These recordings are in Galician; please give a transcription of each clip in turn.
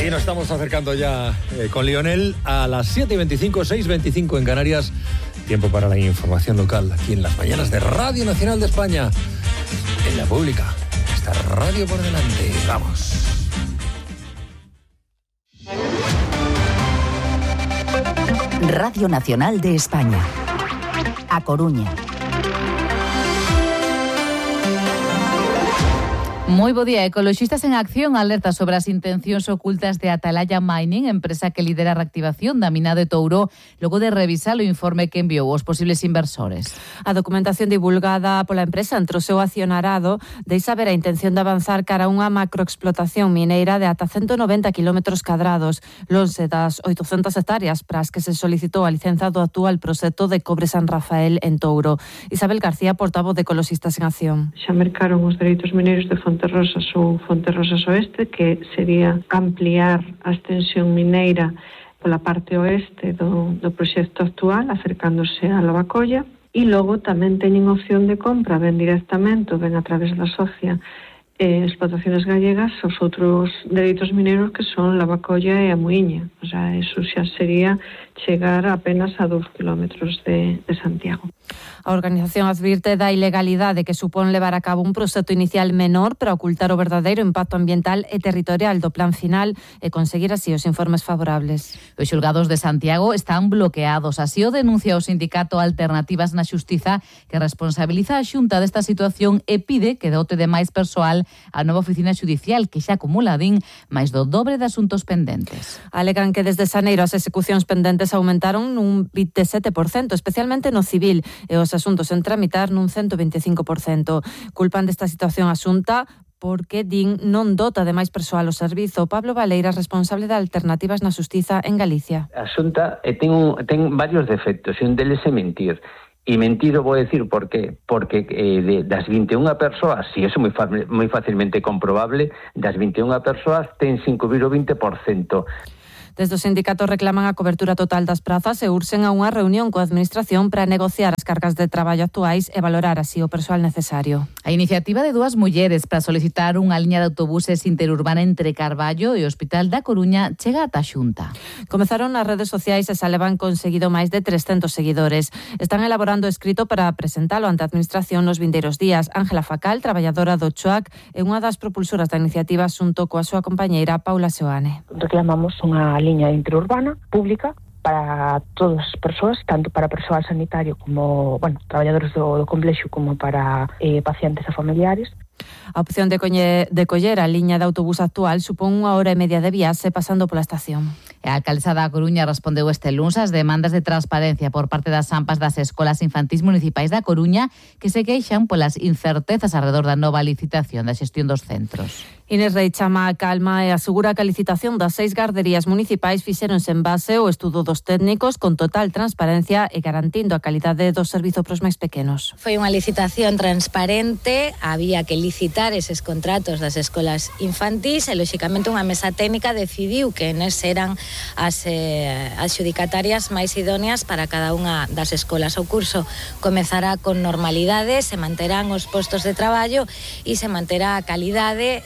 Y nos estamos acercando ya con Lionel a las 7:25, 6:25 en Canarias. Tiempo para la información local aquí en las mañanas de Radio Nacional de España. En la pública. Esta radio por delante. Vamos. Radio Nacional de España. A Coruña. Moi bo día. Ecoloxistas en Acción alerta sobre as intencións ocultas de Atalaya Mining, empresa que lidera a reactivación da mina de Touro, logo de revisar o informe que enviou aos posibles inversores. A documentación divulgada pola empresa entre o seu accionarado deixa ver a intención de avanzar cara a unha macroexplotación mineira de ata 190 km², lonxe das 800 hectáreas para as que se solicitou a licenza do actual proxecto de Cobre San Rafael en Touro. Isabel García, portavoz de Ecoloxistas en Acción. Xa mercaron os dereitos mineiros de Fonterrosas ou Fonterrosas Oeste, que sería ampliar a extensión mineira pola parte oeste do proxecto actual, acercándose a Lavacolla, e logo tamén teñen opción de compra, ben directamente, ben a través da socia Explotaciones Gallegas, os outros dereitos mineiros que son Lavacolla e a Muiña. O sea, eso xa sería chegar apenas a 2 kilómetros de Santiago. A organización advirte da ilegalidade que supón levar a cabo un proxecto inicial menor para ocultar o verdadeiro impacto ambiental e territorial do plan final e conseguir así os informes favorables. Os xulgados de Santiago están bloqueados. Así o denuncia o sindicato Alternativas na Xustiza, que responsabiliza a Xunta desta situación e pide que dote de máis persoal a nova oficina xudicial, que xa acumula, din, máis do dobre de asuntos pendentes. Alegan que desde xaneiro as execucións pendentes aumentaron nun 27%, especialmente no civil, e os asuntos en tramitar nun 125%. Culpan desta situación a Xunta porque, din, non dota de máis persoal o servizo. Pablo Valeira, responsable de Alternativas na Xustiza en Galicia. A Xunta ten varios defectos, e un deles é mentir. E mentido vou decir por qué. Porque das 21 persoas, si eso é moi facilmente comprobable, das 21 persoas ten 5,20%. Desde os sindicatos reclaman a cobertura total das prazas e urxen a unha reunión coa Administración para negociar as cargas de traballo actuais e valorar así o persoal necesario. A iniciativa de dúas mulleres para solicitar unha liña de autobuses interurbana entre Carballo e o Hospital da Coruña chega ata a Xunta. Comezaron nas redes sociais e xa levan conseguido máis de 300 seguidores. Están elaborando escrito para presentalo ante a Administración nos vindeiros días. Ángela Facal, traballadora do CHOAC, é unha das propulsoras da iniciativa xunto coa súa compañeira Paula Seoane. Reclamamos unha liña interurbana pública para todas as persoas, tanto para persoal sanitario como, traballadores do complexo, como para pacientes e familiares. A opción de coller a liña de autobús actual supón 1 hora e media de viaxe pasando pola estación. A alcaldesa da Coruña respondeu este luns ás demandas de transparencia por parte das AMPAs das escolas infantís municipais da Coruña, que se queixan polas incertezas alrededor da nova licitación da xestión dos centros. Inés Rei chama a calma e asegura que a licitación das 6 garderías municipais fixéronse en base ao estudo dos técnicos con total transparencia e garantindo a calidade do servizo pros máis pequenos. Foi unha licitación transparente, había que licitar eses contratos das escolas infantís e, lóxicamente, unha mesa técnica decidiu que nes eran as adxudicatarias máis idóneas para cada unha das escolas. O curso comezará con normalidade, se manterán os postos de traballo e se manterá a calidade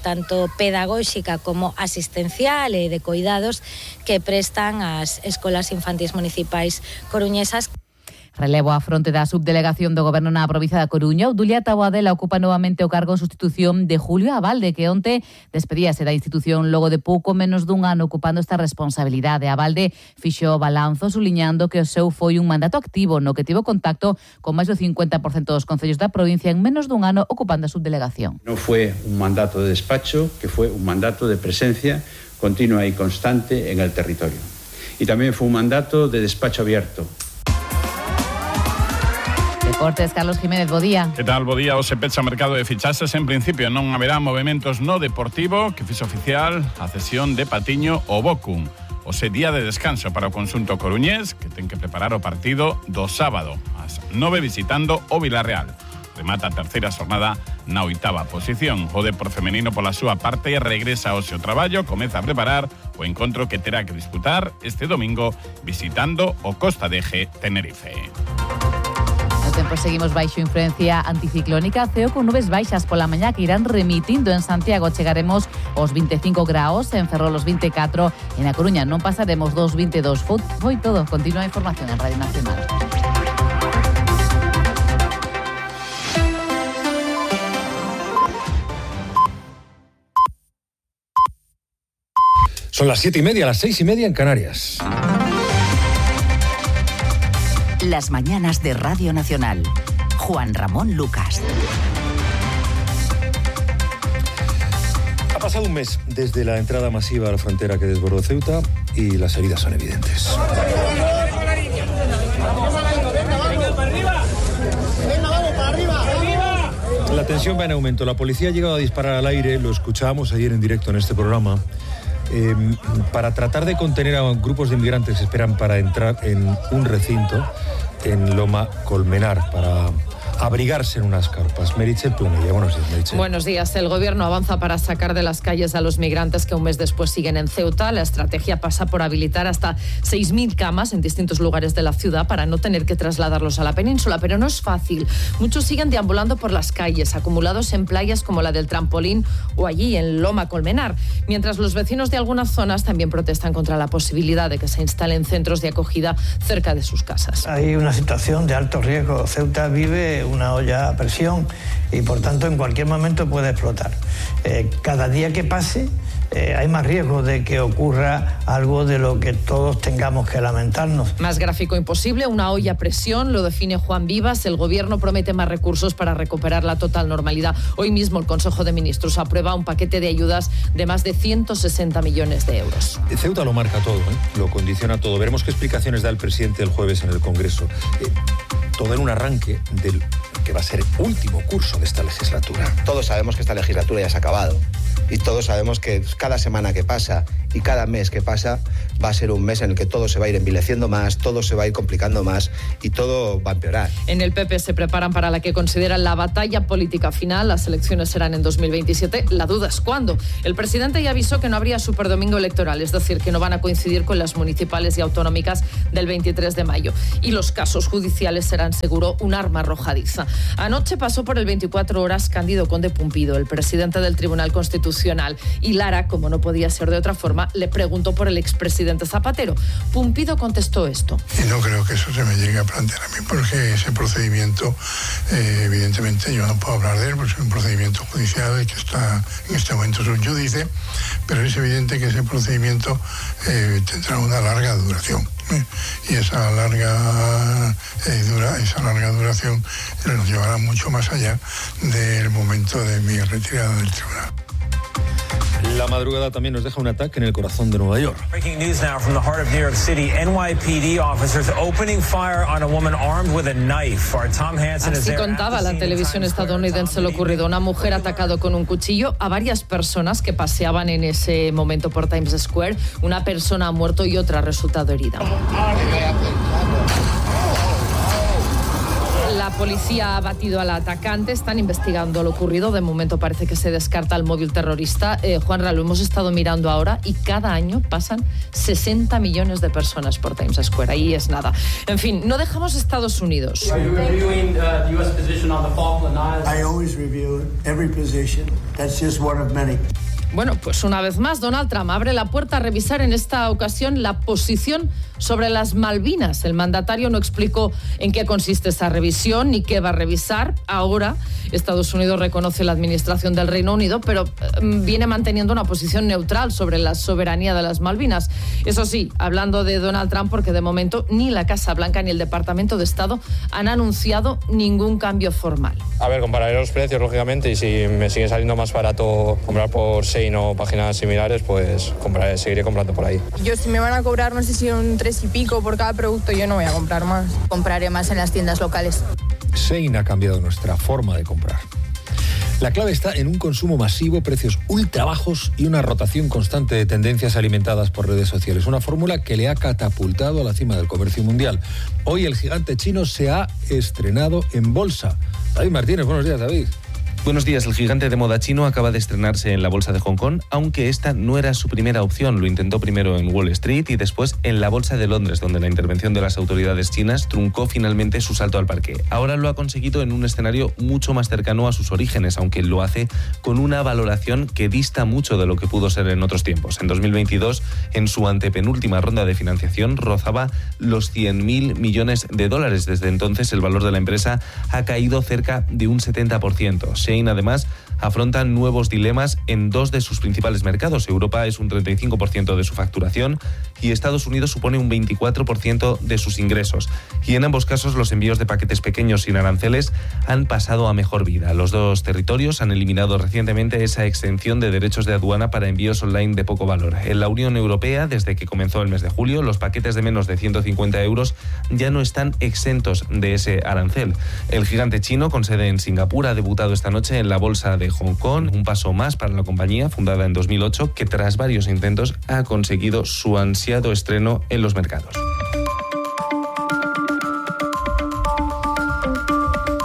tanto pedagóxica como asistencial e de cuidados que prestan as escolas infantís municipais coruñesas. Relevo á fronte da subdelegación do Goberno na provincia da Coruña. Obdulia Taboadela ocupa novamente o cargo en sustitución de Julio Abalde, que onte despedíase da institución logo de pouco menos dun ano ocupando esta responsabilidade. Abalde fixo o balanzo suliñando que o seu foi un mandato activo no que tivo contacto con máis do 50% dos concellos da provincia en menos dun ano ocupando a subdelegación. Non foi un mandato de despacho, que foi un mandato de presencia continua e constante en el territorio. E tamén foi un mandato de despacho abierto. Deportes, Carlos Jiménez, bo día. Que tal, bo día? Hoxe pecha o mercado de fichaxes. En principio non haberá movementos no Deportivo, que fixo oficial a cesión de Patiño ao Bochum. Hoxe día de descanso para o conxunto coruñés, que ten que preparar o partido do sábado, ás 9 visitando o Vilarreal. Remata a terceira xornada na 8ª posición. O Depor femenino pola súa parte regresa ao seu traballo, comeza a preparar o encontro que terá que disputar este domingo visitando o Costa de Eje Tenerife. No tempo seguimos baixo influencia anticiclónica, ceo con nubes baixas pola mañá que irán remitindo en Santiago. Chegaremos os 25 graos, en Ferrol os 24, en A Coruña non pasaremos dos 22. Foi todo. Continúa a información en Radio Nacional. Son las 7:30, las 6:30 en Canarias. Las mañanas de Radio Nacional. Juan Ramón Lucas. Ha pasado un mes desde la entrada masiva a la frontera que desbordó Ceuta y las heridas son evidentes. La tensión va en aumento. La policía ha llegado a disparar al aire, lo escuchábamos ayer en directo en este programa, para tratar de contener a grupos de inmigrantes que esperan para entrar en un recinto en Loma Colmenar, para abrigarse en unas carpas. Meritxell Planella, buenos días, Meritxell. Buenos días. El gobierno avanza para sacar de las calles a los migrantes que un mes después siguen en Ceuta. La estrategia pasa por habilitar hasta 6.000 camas en distintos lugares de la ciudad para no tener que trasladarlos a la península, pero no es fácil. Muchos siguen deambulando por las calles, acumulados en playas como la del Trampolín o allí en Loma Colmenar, mientras los vecinos de algunas zonas también protestan contra la posibilidad de que se instalen centros de acogida cerca de sus casas. Hay una situación de alto riesgo. Ceuta vive una olla a presión y por tanto en cualquier momento puede explotar. Cada día que pase hay más riesgo de que ocurra algo de lo que todos tengamos que lamentarnos. Más gráfico imposible, una olla a presión, lo define Juan Vivas. El gobierno promete más recursos para recuperar la total normalidad. Hoy mismo el Consejo de Ministros aprueba un paquete de ayudas de más de 160 millones de euros. Ceuta lo marca todo, lo condiciona todo. Veremos qué explicaciones da el presidente el jueves en el Congreso. Todo en un arranque del que va a ser el último curso de esta legislatura. Todos sabemos que esta legislatura ya se ha acabado y todos sabemos que cada semana que pasa y cada mes que pasa va a ser un mes en el que todo se va a ir envileciendo más, todo se va a ir complicando más y todo va a empeorar. En el PP se preparan para la que consideran la batalla política final. Las elecciones serán en 2027. La duda es cuándo. El presidente ya avisó que no habría superdomingo electoral, es decir, que no van a coincidir con las municipales y autonómicas del 23 de mayo. Y los casos judiciales serán seguro un arma arrojadiza. Anoche pasó por el 24 horas Cándido Conde Pumpido, el presidente del Tribunal Constitucional, y Lara, como no podía ser de otra forma, le preguntó por el expresidente Zapatero. Pumpido contestó esto. Y no creo que eso se me llegue a plantear a mí, porque ese procedimiento, evidentemente yo no puedo hablar de él, porque es un procedimiento judicial que está en este momento subjudice, pero es evidente que ese procedimiento tendrá una larga duración. Y esa larga duración nos llevará mucho más allá del momento de mi retirada del tribunal. La madrugada también nos deja un ataque en el corazón de Nueva York. Breaking news now from the heart of New York City. NYPD officers opening fire on a woman armed with a knife. Our Tom Hansen is there. Así contaba la televisión estadounidense lo ocurrido. Una mujer atacado con un cuchillo a varias personas que paseaban en ese momento por Times Square. Una persona ha muerto y otra ha resultado herida. La policía ha batido al atacante, están investigando lo ocurrido. De momento parece que se descarta el móvil terrorista. Juanra, lo hemos estado mirando ahora y cada año pasan 60 millones de personas por Times Square. Ahí es nada. En fin, no dejamos Estados Unidos. I always review every position. That's just one of many. Bueno, pues una vez más, Donald Trump abre la puerta a revisar en esta ocasión la posición sobre las Malvinas. El mandatario no explicó en qué consiste esa revisión ni qué va a revisar. Ahora, Estados Unidos reconoce la administración del Reino Unido, pero viene manteniendo una posición neutral sobre la soberanía de las Malvinas. Eso sí, hablando de Donald Trump, porque de momento ni la Casa Blanca ni el Departamento de Estado han anunciado ningún cambio formal. A ver, compararé los precios, lógicamente, y si me sigue saliendo más barato comprar por Shein o páginas similares, pues seguiré comprando por ahí. Yo, si me van a cobrar, no sé si un 3 y pico por cada producto, yo no voy a comprar más. Compraré más en las tiendas locales. Shein ha cambiado nuestra forma de comprar. La clave está en un consumo masivo, precios ultra bajos y una rotación constante de tendencias alimentadas por redes sociales. Una fórmula que le ha catapultado a la cima del comercio mundial. Hoy el gigante chino se ha estrenado en bolsa. David Martínez, buenos días, David. Buenos días. El gigante de moda chino acaba de estrenarse en la bolsa de Hong Kong, aunque esta no era su primera opción. Lo intentó primero en Wall Street y después en la bolsa de Londres, donde la intervención de las autoridades chinas truncó finalmente su salto al parque. Ahora lo ha conseguido en un escenario mucho más cercano a sus orígenes, aunque lo hace con una valoración que dista mucho de lo que pudo ser en otros tiempos. En 2022, en su antepenúltima ronda de financiación, rozaba los 100.000 millones de dólares. Desde entonces, el valor de la empresa ha caído cerca de un 70%. Shein, además, afronta nuevos dilemas en dos de sus principales mercados. Europa es un 35% de su facturación y Estados Unidos supone un 24% de sus ingresos. Y en ambos casos, los envíos de paquetes pequeños sin aranceles han pasado a mejor vida. Los dos territorios han eliminado recientemente esa exención de derechos de aduana para envíos online de poco valor. En la Unión Europea, desde que comenzó el mes de julio, los paquetes de menos de 150 euros ya no están exentos de ese arancel. El gigante chino, con sede en Singapur, ha debutado esta noche en la bolsa de Hong Kong, un paso más para la compañía, fundada en 2008, que tras varios intentos ha conseguido su ansiado estreno en los mercados.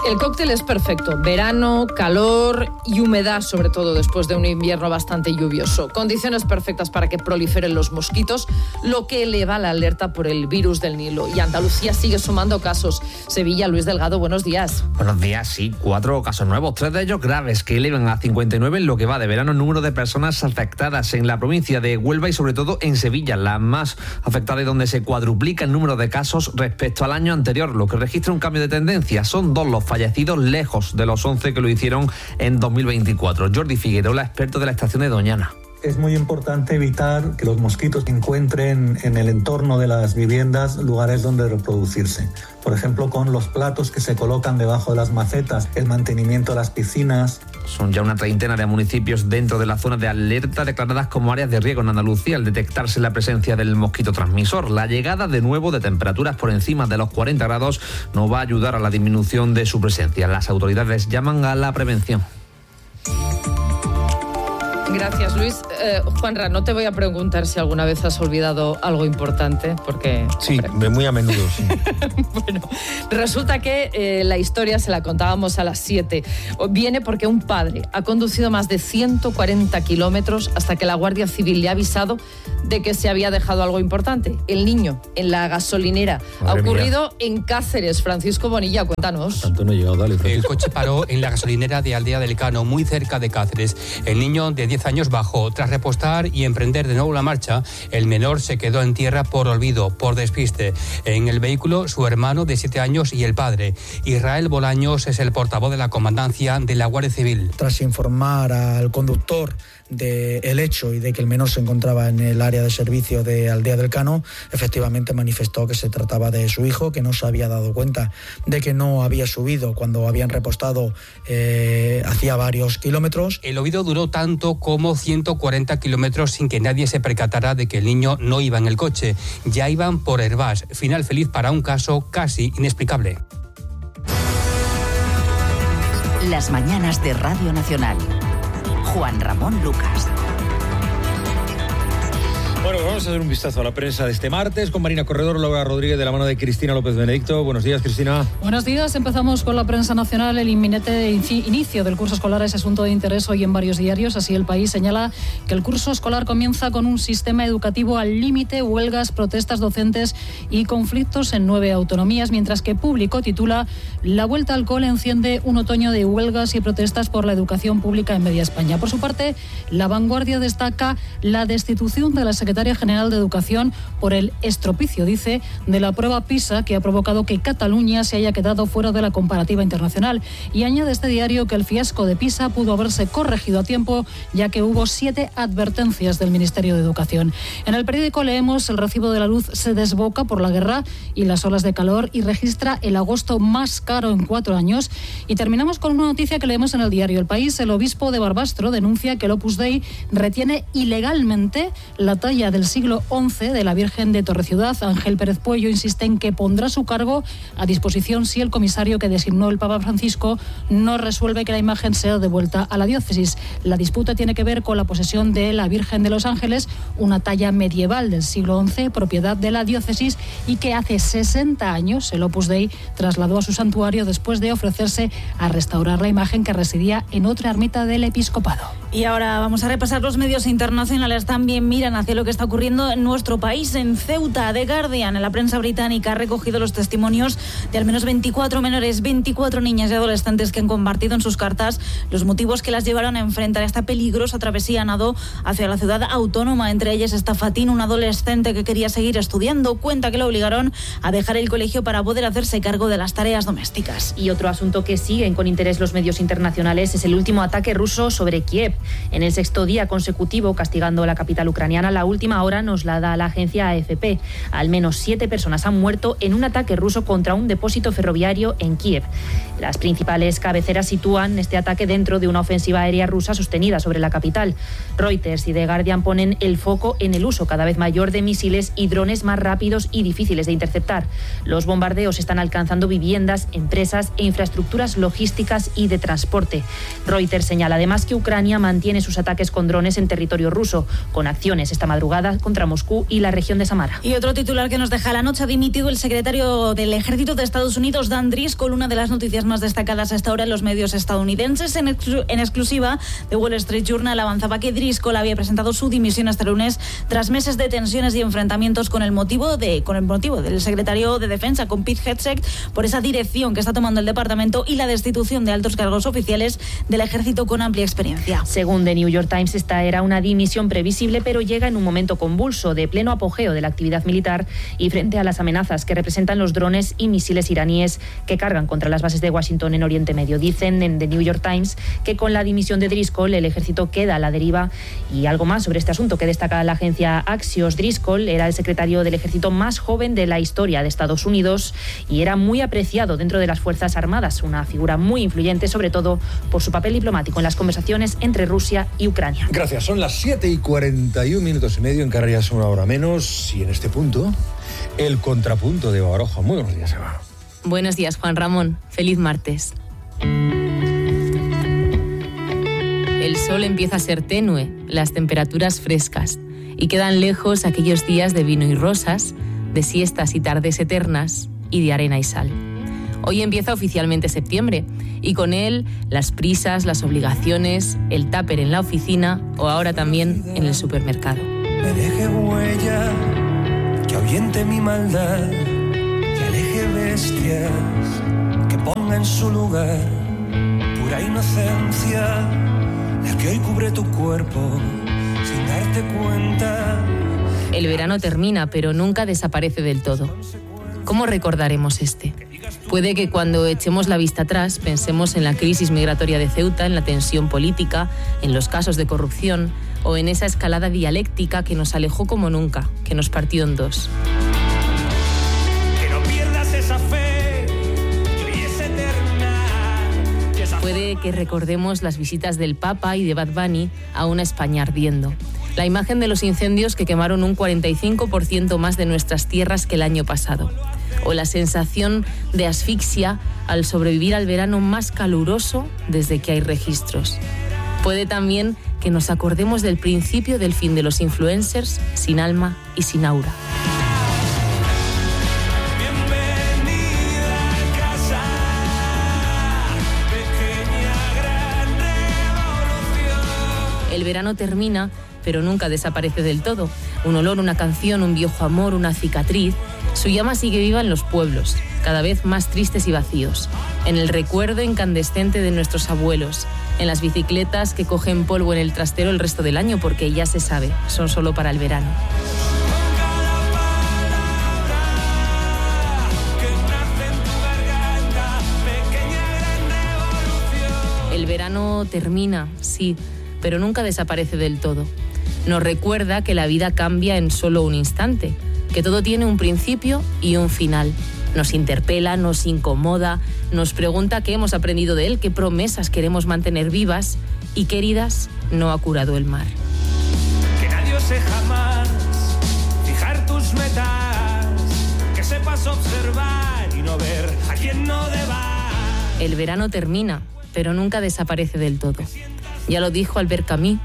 El cóctel es perfecto. Verano, calor y humedad, sobre todo después de un invierno bastante lluvioso. Condiciones perfectas para que proliferen los mosquitos, lo que eleva la alerta por el virus del Nilo. Y Andalucía sigue sumando casos. Sevilla, Luis Delgado, buenos días. Buenos días, sí. 4 casos nuevos, 3 de ellos graves, que elevan a 59 en lo que va de verano el número de personas afectadas en la provincia de Huelva y sobre todo en Sevilla, la más afectada y donde se cuadruplica el número de casos respecto al año anterior, lo que registra un cambio de tendencia. Son 2 los fallecidos, lejos de los 11 que lo hicieron en 2024. Jordi Figueroa, experto de la estación de Doñana. Es muy importante evitar que los mosquitos encuentren en el entorno de las viviendas lugares donde reproducirse. Por ejemplo, con los platos que se colocan debajo de las macetas, el mantenimiento de las piscinas. Son ya una treintena de municipios dentro de la zona de alerta declaradas como áreas de riesgo en Andalucía al detectarse la presencia del mosquito transmisor. La llegada de nuevo de temperaturas por encima de los 40 grados no va a ayudar a la disminución de su presencia. Las autoridades llaman a la prevención. Gracias, Luis. Juanra, no te voy a preguntar si alguna vez has olvidado algo importante, porque... Sí, muy a menudo, sí. Bueno, resulta que la historia se la contábamos a las 7. Viene porque un padre ha conducido más de 140 kilómetros hasta que la Guardia Civil le ha avisado de que se había dejado algo importante. El niño en la gasolinera. Madre ha ocurrido mía. En Cáceres. Francisco Bonilla, cuéntanos. Tanto no he llegado, dale, Francisco. El coche paró en la gasolinera de Aldea del Cano, muy cerca de Cáceres. El niño de 10 años bajó. Tras repostar y emprender de nuevo la marcha, el menor se quedó en tierra por olvido, por despiste. En el vehículo, su hermano de 7 años y el padre. Israel Bolaños es el portavoz de la comandancia de la Guardia Civil. Tras informar al conductor del hecho y de que el menor se encontraba en el área de servicio de Aldea del Cano, efectivamente manifestó que se trataba de su hijo, que no se había dado cuenta de que no había subido cuando habían repostado hacía varios kilómetros. El olvido duró tanto como 140 kilómetros sin que nadie se percatara de que el niño no iba en el coche. Ya iban por Hervás. Final feliz para un caso casi inexplicable. Las mañanas de Radio Nacional. Juan Ramón Lucas. Bueno, pues vamos a hacer un vistazo a la prensa de este martes con Marina Corredor, Laura Rodríguez, de la mano de Cristina López Benedicto. Buenos días, Cristina. Buenos días. Empezamos con la prensa nacional. El inminente inicio del curso escolar es asunto de interés hoy en varios diarios. Así, El País señala que el curso escolar comienza con un sistema educativo al límite, huelgas, protestas docentes y conflictos en 9 autonomías, mientras que Público titula La vuelta al cole enciende un otoño de huelgas y protestas por la educación pública en media España. Por su parte, La Vanguardia destaca la destitución de la secretaria general de Educación por el estropicio, dice, de la prueba PISA, que ha provocado que Cataluña se haya quedado fuera de la comparativa internacional. Y añade este diario que el fiasco de PISA pudo haberse corregido a tiempo, ya que hubo 7 advertencias del Ministerio de Educación. En el periódico leemos: el recibo de la luz se desboca por la guerra y las olas de calor y registra el agosto más caro en 4 años. Y terminamos con una noticia que leemos en el diario El País. El obispo de Barbastro denuncia que el Opus Dei retiene ilegalmente la talla del siglo siglo XI de la Virgen de Torreciudad. Ángel Pérez Puello insiste en que pondrá su cargo a disposición si el comisario que designó el Papa Francisco no resuelve que la imagen sea devuelta a la diócesis. La disputa tiene que ver con la posesión de la Virgen de los Ángeles, una talla medieval del siglo XI, propiedad de la diócesis, y que hace 60 años el Opus Dei trasladó a su santuario después de ofrecerse a restaurar la imagen que residía en otra ermita del episcopado. Y ahora vamos a repasar los medios internacionales. También miran hacia lo que está ocurriendo en nuestro país. En Ceuta, The Guardian, en la prensa británica, ha recogido los testimonios de al menos 24 menores, 24 niñas y adolescentes que han compartido en sus cartas los motivos que las llevaron a enfrentar esta peligrosa travesía a nado hacia la ciudad autónoma. Entre ellas está Fatín, un adolescente que quería seguir estudiando. Cuenta que lo obligaron a dejar el colegio para poder hacerse cargo de las tareas domésticas. Y otro asunto que siguen con interés los medios internacionales es el último ataque ruso sobre Kiev. En el 6º día consecutivo, castigando la capital ucraniana, la última hora nos la da la agencia AFP. Al menos 7 personas han muerto en un ataque ruso contra un depósito ferroviario en Kiev. Las principales cabeceras sitúan este ataque dentro de una ofensiva aérea rusa sostenida sobre la capital. Reuters y The Guardian ponen el foco en el uso cada vez mayor de misiles y drones más rápidos y difíciles de interceptar. Los bombardeos están alcanzando viviendas, empresas e infraestructuras logísticas y de transporte. Reuters señala además que Ucrania mantiene sus ataques con drones en territorio ruso, con acciones esta madrugada contra Moscú y la región de Samara. Y otro titular que nos deja la noche: ha dimitido el secretario del Ejército de Estados Unidos, Dan Driscoll, una de las noticias más destacadas hasta ahora en los medios estadounidenses. En exclusiva, The Wall Street Journal avanzaba que Driscoll había presentado su dimisión este lunes tras meses de tensiones y enfrentamientos con el motivo del secretario de Defensa, con Pete Hegseth, por esa dirección que está tomando el departamento y la destitución de altos cargos oficiales del ejército con amplia experiencia. Según The New York Times, esta era una dimisión previsible, pero llega en un momento convulso, de pleno apogeo de la actividad militar y frente a las amenazas que representan los drones y misiles iraníes que cargan contra las bases de Washington en Oriente Medio. Dicen en The New York Times que con la dimisión de Driscoll el ejército queda a la deriva. Y algo más sobre este asunto que destaca la agencia Axios: Driscoll era el secretario del ejército más joven de la historia de Estados Unidos y era muy apreciado dentro de las Fuerzas Armadas, una figura muy influyente, sobre todo por su papel diplomático en las conversaciones entre Rusia y Ucrania. Gracias, son las 7:41 en Canarias, una hora menos, y en este punto, el contrapunto de Eva Baroja. Muy buenos días, Eva. Buenos días, Juan Ramón. Feliz martes. El sol empieza a ser tenue, las temperaturas frescas, y quedan lejos aquellos días de vino y rosas, de siestas y tardes eternas, y de arena y sal. Hoy empieza oficialmente septiembre, y con él las prisas, las obligaciones, el tupper en la oficina o ahora también en el supermercado. Me deje huella, que ahuyente mi maldad, que aleje bestias, que ponga en su lugar pura inocencia, la que hoy cubre tu cuerpo sin darte cuenta. El verano termina, pero nunca desaparece del todo. ¿Cómo recordaremos este? Puede que cuando echemos la vista atrás pensemos en la crisis migratoria de Ceuta, en la tensión política, en los casos de corrupción o en esa escalada dialéctica que nos alejó como nunca, que nos partió en dos. Que no pierdas esa fe, que hoy es eterna. Puede que recordemos las visitas del Papa y de Bad Bunny a una España ardiendo. La imagen de los incendios que quemaron un 45% más de nuestras tierras que el año pasado. O la sensación de asfixia al sobrevivir al verano más caluroso desde que hay registros. Puede también que nos acordemos del principio del fin de los influencers sin alma y sin aura. El verano termina, pero nunca desaparece del todo. Un olor, una canción, un viejo amor, una cicatriz. Su llama sigue viva en los pueblos, cada vez más tristes y vacíos. En el recuerdo incandescente de nuestros abuelos. En las bicicletas que cogen polvo en el trastero el resto del año, porque ya se sabe, son solo para el verano. El verano termina, sí, pero nunca desaparece del todo. Nos recuerda que la vida cambia en solo un instante, que todo tiene un principio y un final. Nos interpela, nos incomoda, nos pregunta qué hemos aprendido de él, qué promesas queremos mantener vivas y qué heridas no ha curado el mar. Que nadie ose jamás es observar y no ver a quien no deba. El verano termina, pero nunca desaparece del todo. Ya lo dijo Albert Camus.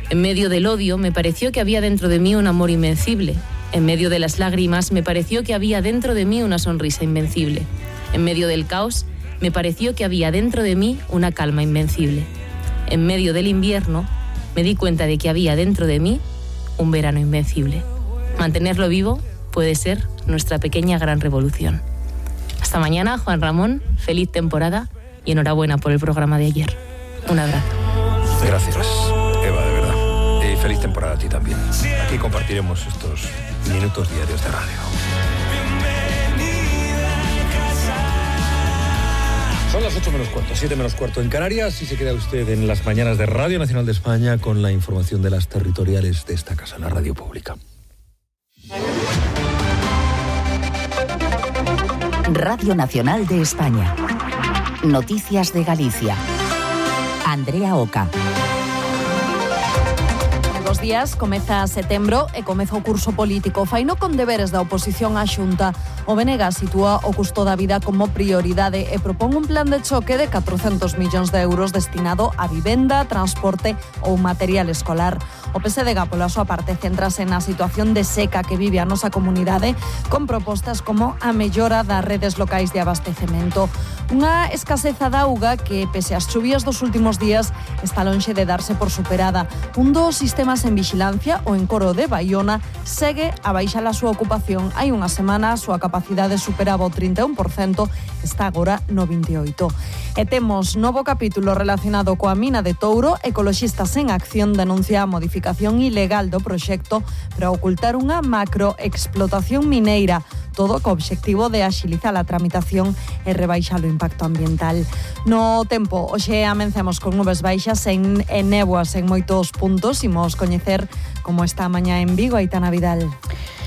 En medio del odio me pareció que había dentro de mí un amor invencible. En medio de las lágrimas me pareció que había dentro de mí una sonrisa invencible. En medio del caos me pareció que había dentro de mí una calma invencible. En medio del invierno me di cuenta de que había dentro de mí un verano invencible. Mantenerlo vivo puede ser nuestra pequeña gran revolución. Hasta mañana, Juan Ramón. Feliz temporada y enhorabuena por el programa de ayer. Un abrazo. Gracias, Eva, de verdad. Y feliz temporada a ti también. Aquí compartiremos estos minutos diarios de radio. Son las 8 menos cuarto, 7 menos cuarto en Canarias, y se queda usted en las mañanas de Radio Nacional de España con la información de las territoriales de esta casa, la radio pública. Radio Nacional de España. Noticias de Galicia. Andrea Oca. Dos días, comeza setembro e comeza o curso político. Faino con deberes da oposición á Xunta. O BNG sitúa o custo da vida como prioridade e propón un plan de choque de 400 millóns de euros destinado a vivenda, transporte ou material escolar. O PSDG, pola súa parte, centrase na situación de seca que vive a nosa comunidade con propostas como a mellora das redes locais de abastecemento. Unha escaseza de auga que, pese ás chuvias dos últimos días, está lonxe de darse por superada. Un dos sistemas en vigilancia, o Encoro de Baiona, segue a baixar a súa ocupación. Hai unha semana a súa capacidade superaba o 31%, está agora no 28%. E temos novo capítulo relacionado coa mina de Touro. Ecoloxistas en Acción denuncia a modificación ilegal do proxecto para ocultar unha macroexplotación mineira, todo co obxectivo de axilizar a tramitación e rebaixar o impacto ambiental. No tempo, hoxe amencemos con nubes baixas e néboas en moitos puntos. Imos coñecer como está a mañá en Vigo. Aitana Vidal.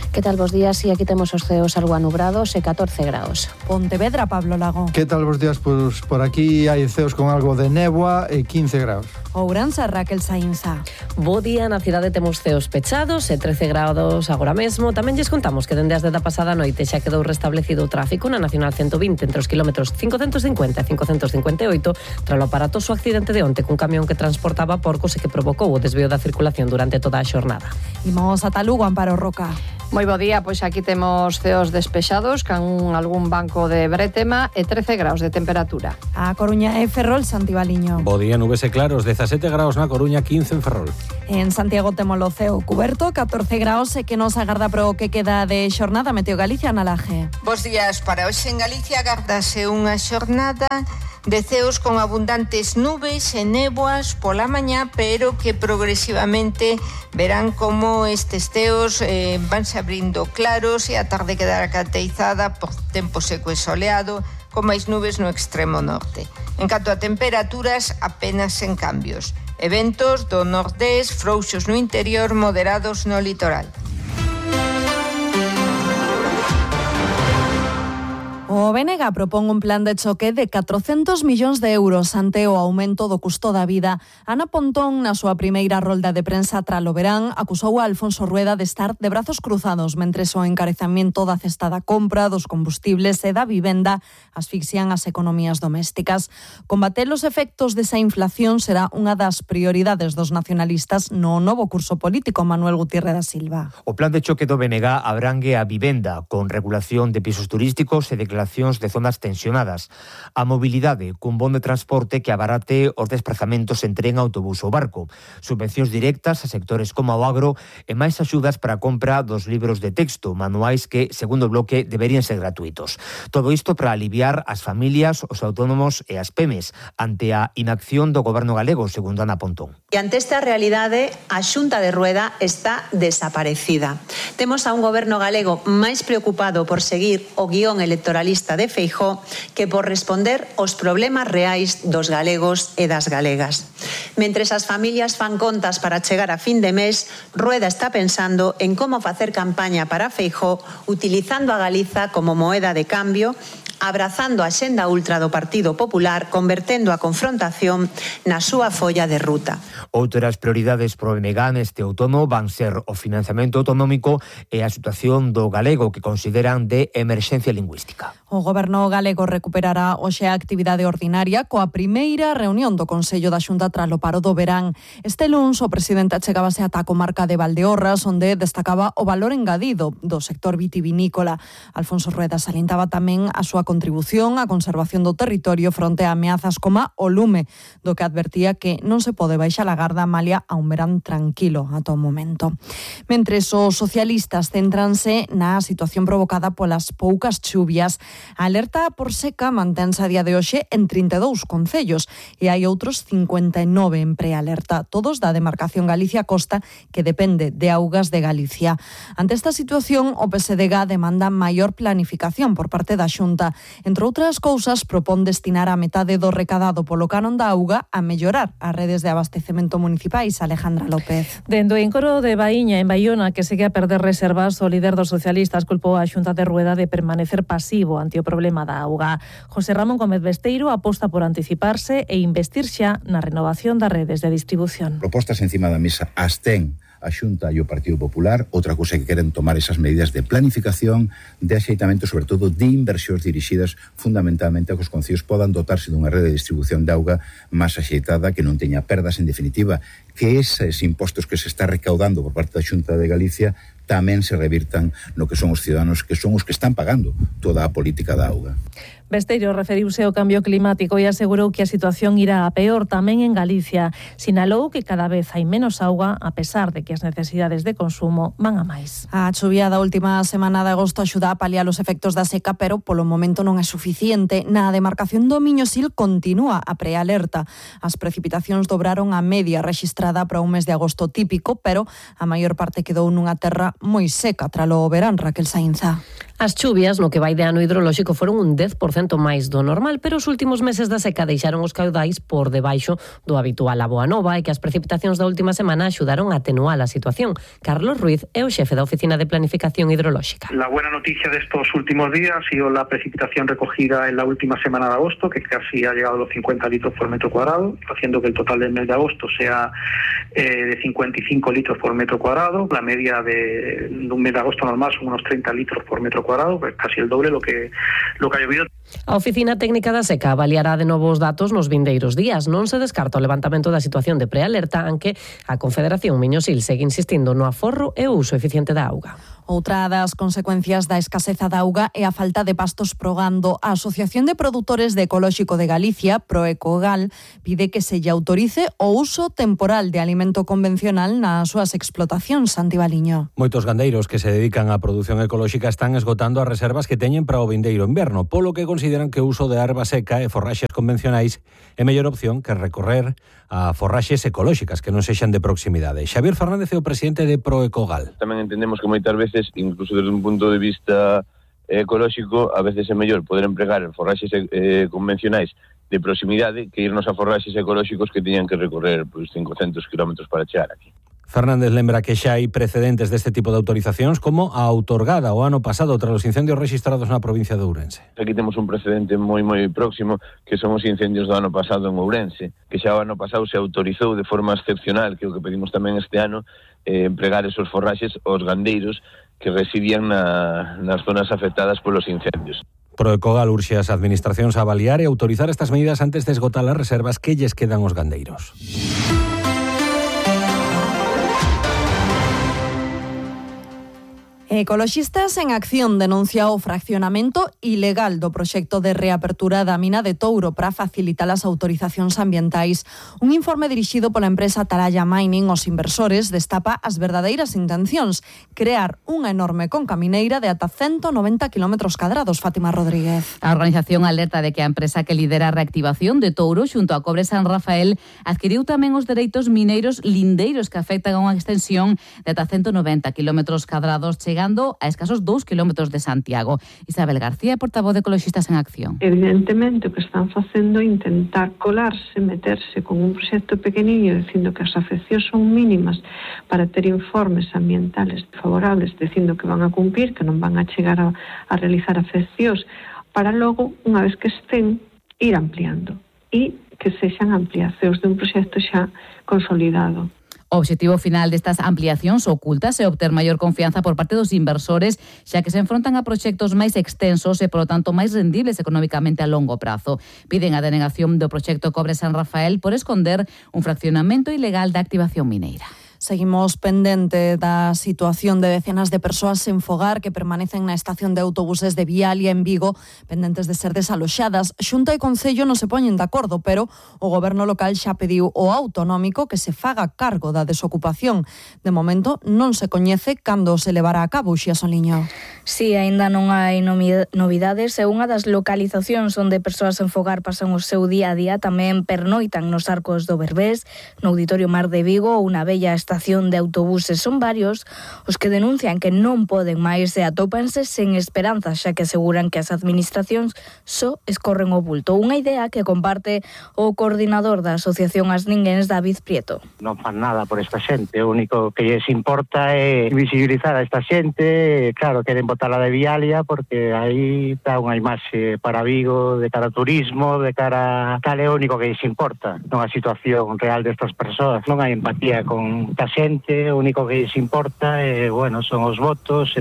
¿Qué tal, vos días? Sí, aquí tenemos os ceos algo anubrados e 14 graus. Pontevedra, Pablo Lago. ¿Qué tal, vos días? Pues por aquí hai ceos con algo de néboa e 15 graus. Ourense, Raquel Sainza. Bo día, na cidade temos ceos pechados e 13 graus agora mesmo. Tamén lles contamos que dende as 10 da pasada noite xa quedou restablecido o tráfico na Nacional 120 entre os kilómetros 550 e 558 tras o aparatoso accidente de onte cun camión que transportaba porcos e que provocou o desvío da circulación durante toda a xornada. Imos ata Lugo, Amparo Roca. Moi bo día, pois aquí temos ceos despexados con algún banco de bretema e 13 graus de temperatura. A Coruña e Ferrol, Santibaliño. Bo día, nubes e claros, 17 graus na Coruña, 15 en Ferrol. En Santiago temos o ceo cuberto, 14 graus e que nos agarda pro que queda de xornada. Meteo Galicia na Laje. Bos días, para hoxe en Galicia agardase unha xornada de ceos con abundantes nubes e néboas pola mañá, pero que progresivamente verán como estes ceos vanse abrindo claros e a tarde quedará caracterizada por tempo seco e soleado, con máis nubes no extremo norte. En canto a temperaturas, apenas sen cambios. Eventos do nordés, frouxos no interior, moderados no litoral. O BNG propón un plan de choque de 400 millóns de euros ante o aumento do custo da vida. Ana Pontón, na súa primeira rolda de prensa tralo verán, acusou a Alfonso Rueda de estar de brazos cruzados mentres o encarecamento da cesta da compra, dos combustibles e da vivenda asfixian as economías domésticas. Combater os efectos desa inflación será unha das prioridades dos nacionalistas no novo curso político. Manuel Gutiérrez da Silva. O plan de choque do BNG abrangue a vivenda, con regulación de pisos turísticos e declaracións de zonas tensionadas, a mobilidade cun bon de transporte que abarate os desplazamentos en tren, autobús ou barco, subvencións directas a sectores como o agro e máis axudas para a compra dos libros de texto, manuais que, segundo o bloque, deberían ser gratuitos. Todo isto para aliviar as familias, os autónomos e as PEMES ante a inacción do goberno galego, segundo Ana Pontón. E ante esta realidade, a Xunta de Rueda está desaparecida. Temos a un goberno galego máis preocupado por seguir o guión electoralista de Feijóo que por responder aos problemas reais dos galegos e das galegas. Mentres as familias fan contas para chegar a fin de mes, Rueda está pensando en como facer campaña para Feijóo utilizando a Galiza como moeda de cambio abrazando a xenda ultra do Partido Popular, convertendo a confrontación na súa folla de ruta. Outras prioridades pro BNG neste outono van ser o financiamento autonómico e a situación do galego, que consideran de emerxencia lingüística. O Goberno galego recuperará hoxe a actividade ordinaria coa primeira reunión do Consello da Xunta tras o paro do verán. Este luns o presidente achegábase ata a comarca de Valdeorras, onde destacaba o valor engadido do sector vitivinícola. Alfonso Rueda salientaba tamén a súa contribución á conservación do territorio fronte a ameazas como o lume, do que advertía que non se pode baixar a garda malia a un verán tranquilo ata o momento. Mentres os socialistas céntranse na situación provocada polas poucas chuvias, a alerta por seca mantense a día de hoxe en 32 concellos e hai outros 59 en prealerta, todos da demarcación Galicia-Costa, que depende de Augas de Galicia. Ante esta situación, o PSDG demanda maior planificación por parte da Xunta. Entre outras cousas, propón destinar a metade do recadado polo canon da auga a mellorar as redes de abastecemento municipais. Alejandra López. Dende o encoro de Baíña, en Baiona, que segue a perder reservas, o líder dos socialistas culpou a Xunta de Rueda de permanecer pasivo ante o problema da auga. José Ramón Gómez Besteiro aposta por anticiparse e investir xa na renovación das redes de distribución. Propostas encima da mesa as ten a Xunta e o Partido Popular. Outra cousa que queren tomar esas medidas de planificación, de axeitamento, sobre todo de inversións dirixidas fundamentalmente a que os concellos podan dotarse dunha rede de distribución de auga máis axeitada, que non teña perdas, en definitiva, que eses impostos que se está recaudando por parte da Xunta de Galicia tamén se revirtan no que son os ciudadanos, que son os que están pagando toda a política da auga. Besteiro referiuse ao cambio climático e asegurou que a situación irá a peor tamén en Galicia. Sinalou que cada vez hai menos auga, a pesar de que as necesidades de consumo van a máis. A chuvia da última semana de agosto axuda a paliar os efectos da seca, pero polo momento non é suficiente. Na demarcación do Miño-Sil continúa a prealerta. As precipitacións dobraron a media rexistrada para un mes de agosto típico, pero a maior parte quedou nunha terra moi seca tralo verán. Raquel Sainza. As chuvias no que vai de ano hidrolóxico foron un 10% máis do normal, pero os últimos meses da seca deixaron os caudais por debaixo do habitual a boa nova e que as precipitacións da última semana axudaron a atenuar a situación. Carlos Ruiz é o xefe da Oficina de Planificación Hidrolóxica. La buena noticia de estos últimos días ha sido la precipitación recogida en la última semana de agosto, que casi ha llegado a los 50 litros por metro cuadrado, haciendo que el total del mes de agosto sea de 55 litros por metro cuadrado. La media de un mes de agosto normal son unos 30 litros por metro cuadrado, pues casi el doble lo que ha llovido. A Oficina Técnica da Seca avaliará de novo os datos nos vindeiros días. Non se descarta o levantamento da situación de prealerta, aunque a Confederación Miño-Sil segue insistindo no aforro e o uso eficiente da auga. Outra das consecuencias da escaseza da auga é a falta de pastos pro gando. A Asociación de Produtores de Ecolóxico de Galicia, Proecogal, pide que se lle autorice o uso temporal de alimento convencional nas súas explotacións. Santi Baliño. Moitos gandeiros que se dedican á produción ecolóxica están esgotando as reservas que teñen para o vindeiro inverno, polo que consideran que o uso de erva seca e forraxes convencionais é mellor opción que recorrer a forraxes ecolóxicas que non sexan de proximidade. Xavier Fernández é o presidente de Proecogal. Tamén entendemos que moitas veces, incluso desde un punto de vista ecolóxico, a veces é mellor poder empregar forraxes convencionais de proximidade que irnos a forraxes ecolóxicos que teñan que recorrer 500 kilómetros para chegar aquí. Fernández lembra que xa hai precedentes deste tipo de autorizacións, como a outorgada o ano pasado tras os incendios rexistrados na provincia de Ourense. Aquí temos un precedente moi próximo, que son os incendios do ano pasado en Ourense, que xa o ano pasado se autorizou de forma excepcional, que é o que pedimos tamén este ano, empregar esos forraxes aos gandeiros que residían nas zonas afectadas polos incendios. Proecogal urxe as administracións a avaliar e autorizar estas medidas antes de esgotar as reservas que lles quedan aos gandeiros. Ecoloxistas en Acción denuncia o fraccionamento ilegal do proxecto de reapertura da mina de Touro para facilitar as autorizacións ambientais. Un informe dirixido pola empresa Atalaya Mining aos inversores destapa as verdadeiras intencións: crear unha enorme conca mineira de ata 190 km². Fátima Rodríguez. A organización alerta de que a empresa que lidera a reactivación de Touro xunto a Cobre San Rafael adquiriu tamén os dereitos mineiros lindeiros que afectan a unha extensión de ata 190 km², chegando a escasos 2 kilómetros de Santiago. Isabel García, portavoz de Ecoloxistas en Acción. Evidentemente o que están facendo é intentar colarse, meterse con un proxecto pequeniño dicindo que as afeccións son mínimas para ter informes ambientales favorables, dicindo que van a cumprir, que non van a chegar a realizar afeccións, para logo, unha vez que estén, ir ampliando e que sexan ampliacións dun proxecto xa consolidado. O obxectivo final destas ampliacións ocultas é obter maior confianza por parte dos inversores, xa que se enfrontan a proxectos máis extensos e, polo tanto, máis rendibles económicamente a longo prazo. Piden a denegación do proxecto Cobre San Rafael por esconder un fraccionamento ilegal da activación mineira. Seguimos pendente da situación de decenas de persoas sen fogar que permanecen na estación de autobuses de Vialia en Vigo, pendentes de ser desaloxadas. Xunta e Concello non se poñen de acordo, pero o goberno local xa pediu ao autonómico que se faga cargo da desocupación. De momento non se coñece cando se levará a cabo, Xia Soliño. Si, aínda non hai novidades e unha das localizacións onde persoas sen fogar pasan o seu día a día tamén pernoitan nos Arcos do Berbés, no Auditorio Mar de Vigo ou na bella estación de autobuses. Son varios os que denuncian que non poden máis e atópanse sen esperanza, xa que aseguran que as administracións só escorren o bulto. Unha idea que comparte o coordinador da Asociación As Ninguéns, David Prieto. Non fan nada por esta xente, o único que lles importa é visibilizar a esta xente. Claro, queren botala de Vialia porque aí está unha imaxe para Vigo de cara a turismo, de cara a tal, é o único que lles importa, non a situación real destas persoas. Non hai empatía con a xente, o único que lles importa son os votos.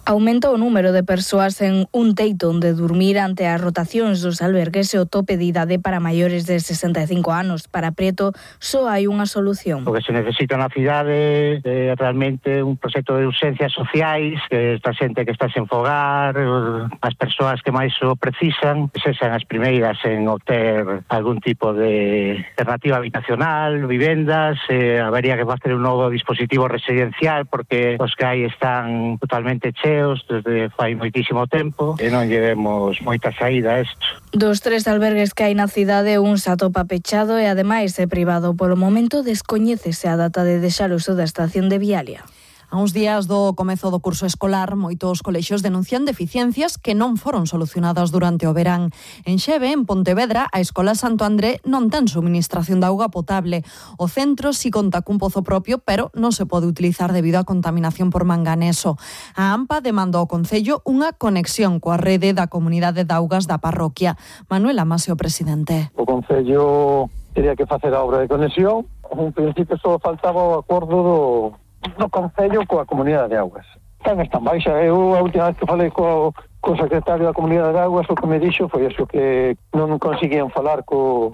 Aumenta o número de persoas en un teito onde dormir ante as rotacións dos albergues e o tope de idade para maiores de 65 anos. Para Prieto, só hai unha solución. O que se necesita na cidade é realmente un proxecto de urxencias sociais, que esta xente que está sen fogar, as persoas que máis o precisan, sexan as primeiras en obter algún tipo de alternativa habitacional, vivendas, habería que facer un novo dispositivo residencial porque os que hai están totalmente cheos desde fai moitísimo tempo e non llevemos moita saída a isto. Dos 3 albergues que hai na cidade, un se atopa pechado e ademais é privado. Polo momento descoñécese a data de deixar o uso da estación de Vialia. A uns días do comezo do curso escolar, moitos colexios denuncian deficiencias que non foron solucionadas durante o verán. En Xeve, en Pontevedra, a Escola Santo André non ten suministración de auga potable. O centro si conta cun pozo propio, pero non se pode utilizar debido á contaminación por manganeso. A AMPA demanda ao Concello unha conexión coa rede da Comunidade de Augas da parroquia. Manuel Amasio, presidente. O Concello teria que facer a obra de conexión. En principio só faltaba o acordo do Concello coa Comunidade de Augas. Están baixa. Eu a última vez que falei co secretario da Comunidade de Augas, o que me dixo foi eso, que non conseguían falar co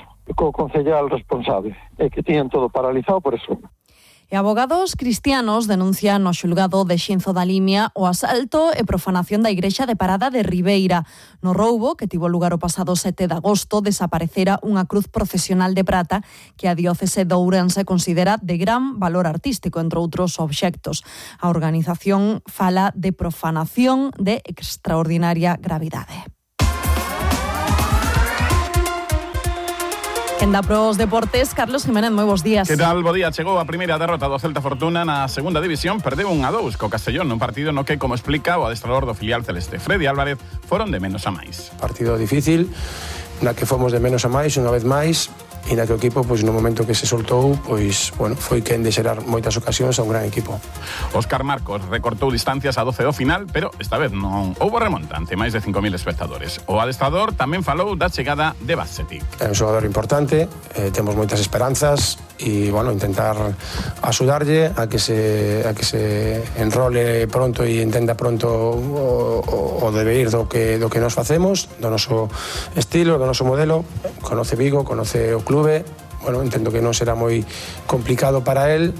concellal responsable e que tiñan todo paralizado por eso. E abogados cristianos denuncian no xulgado de Xinzo da Limia o asalto e profanación da igrexa de Parada de Ribeira. No roubo, que tivo lugar o pasado 7 de agosto, desaparecera unha cruz procesional de prata que a diócese de Ourense considera de gran valor artístico, entre outros obxectos. A organización fala de profanación de extraordinaria gravidade. Quenda pros deportes, Carlos Jiménez, moi bons días. Que tal? Bo día. Chegou a primeira derrota do Celta Fortuna na segunda división, perdeu 1-2 co Castellón nun partido no que, como explica o adestrador do filial celeste Freddy Álvarez, foron de menos a máis. Partido difícil, na que fomos de menos a máis, unha vez máis, e na que o equipo, no momento que se soltou, foi quen de xerar moitas ocasións a un gran equipo. Óscar Marcos recortou distancias a 12 do final, pero esta vez non houbo remonta ante máis de 5.000 espectadores. O adestrador tamén falou da chegada de Basetic. É un xogador importante, temos moitas esperanzas e, intentar axudarlle a que se enrole pronto e entenda pronto o deber do que nos facemos, do noso estilo, do noso modelo. Conoce Vigo, conoce o club. Entendo que non será moi complicado para él.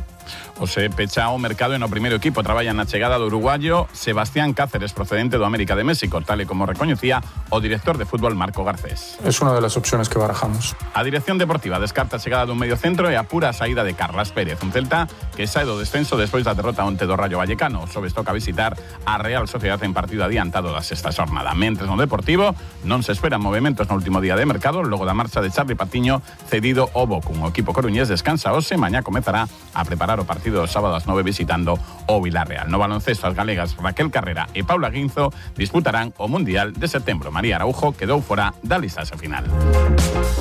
O se pecha o mercado e no primeiro equipo traballa na chegada do uruguayo Sebastián Cáceres, procedente do América de México, tal e como recoñecía o director de fútbol Marco Garcés. Es una de las opciones que barajamos. A dirección deportiva descarta a chegada dun medio centro e apura a saída de Carlas Pérez, un Celta que sae do descenso despois da derrota onte do Rayo Vallecano. Sobes toca visitar a Real Sociedade en partido adiantado da sexta xornada. Mentres no Deportivo non se esperan movementos no último día de mercado logo da marcha de Charly Patiño cedido ao Bochum. O equipo coruñés descansa hoxe, mañá comezará a preparar o partido do sábado ás 9 visitando o Villarreal. No baloncesto, as galegas Raquel Carrera e Paula Guinzo disputarán o Mundial de setembro. María Araujo quedou fora da listaxe final.